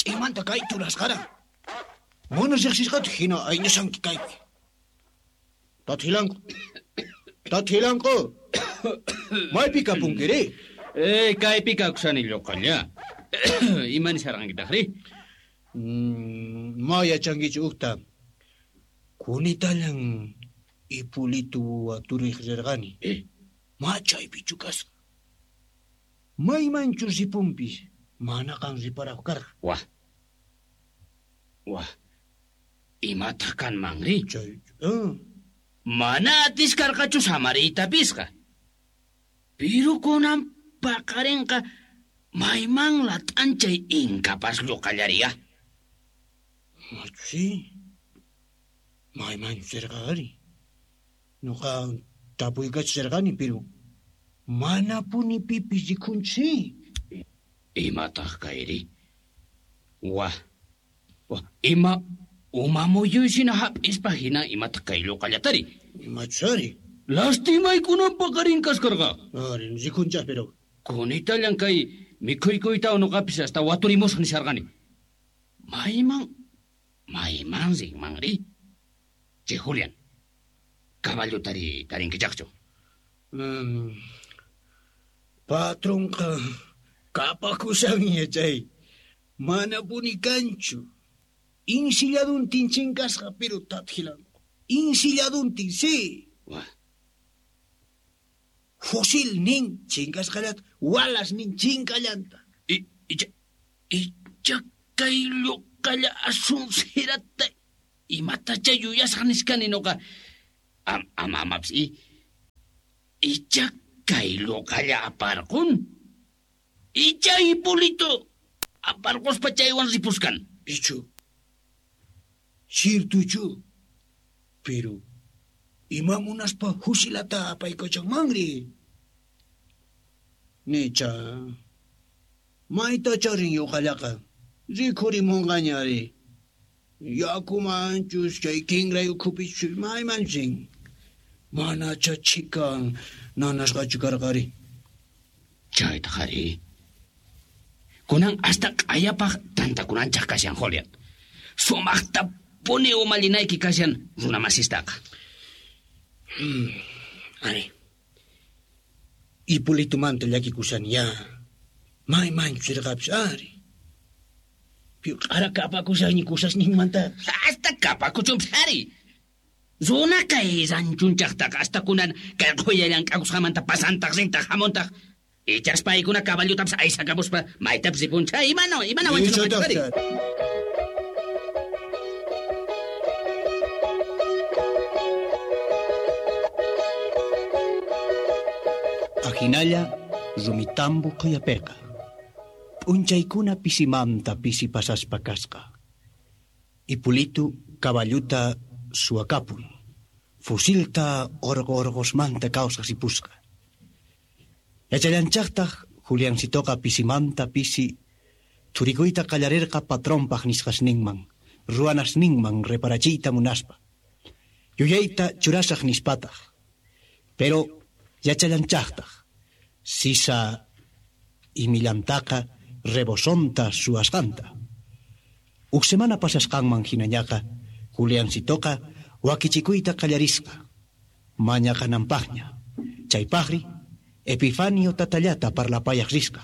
Ch'imanta kay churasqara. Mana riqsisqata hina ayñashanki kaypi. Tathilanku. Tathilanku. Maypi kapunkiri? Kaypi kakushani lluqalla. Ima nisharqankitaqri? Ma yachankichu ukta. Kunitallan Ipulitu waturiq rirqani. Ma chaypichu kasqa. Maymanchu ripunpis mana qan riparaq karqa. Wah. Wah. Imataq kanmanri? Chay. Mana atiskarqachu samariytapisqa. Piru kunan paqarinqa mayman lat'anchay inkapas lluqallariya. Machusi. Maymanchu rirqari. Nuqa tapuykachirqani piru manapuni pipis rikunchi. Imataq kayri? Wah. Wah, ima umamuyuysina hap'ispa hina imataq kay lluqallatari? Imachari? Lastimaykunan paqarin kaskarqa. Ari, rikunchaq pero. Kunitallan kay mikhuykuyta nuqapis hasta waturimusaq nisharqani. Mayman rinmanri? Che Julián, caballotari tarinkichaqchu? Patronqa kapakushanña chay. Manapuni kanchu. Insilladuntin chinkasqa pero tathilanku. Insilladuntin, sí. Wah. Fusil nin chinkasqallata, walas nin chinkallanta. Icha kay lluqalla asunsirata imatacha yuyasaq niskani nuqa. Ama amapis icha kay lluqalla aparqun. Icha Hipólito aparquspa chaywan ripuskan. Ichu. Sirtuchu. Pero ima munaspa fusilata apaykachanmanri. Nicha. Mayta charin yuqallaqa. Rikhurimunqañari. Yakumanchus chay kinray ukhupichu maymanchin. Manacha chikan nanasqachu karqari. Chaytaq ari. Kunan hasta q'ayapaq tantakunanchaq kashan Julián. Sumaqta puni umallinayki kashan runamasistaqa. Ari. Hipolitomanta llakikushan ya. Maymanchu rirqapis ari. Q'ara kapakushanñi kusasninmanta. Hasta kapakuchunpis ari. Runa kay ranchunchaqtaqa hasta kunan kay qhuya llank'akusqamanta pasantaq rintaq hamuntaq. Ichas paykuna caballotapis aysakamuspa maytapis ripuncha. Imana wanchunqanchaq ari. Ajinalla rumitambu qhuyapiqa. P'unchaykuna pisimanta pisi pasaspa kasqa. Hipolito caballuta suwakapun. Fusilta orqo orqosmanta kawsaq ripusqa. Yachallanchaqtaq Juliancitoqa pisimanta pisi thurikuyta qallarirqa patronpaq nisqasninman, ruwanasninman reparachiyta munaspa. Yuyayta churasaq nispataq. Pero yachallanchaqtaq sisa imillantaqa rebosonta suwasqanta. Huk semana pasasqanman hinañaqa Juliancitoqa wakichikuyta qallarisqa. Mañaqananpaqña. Chaypaqri Epifanio tatallata parlapayaq risqa.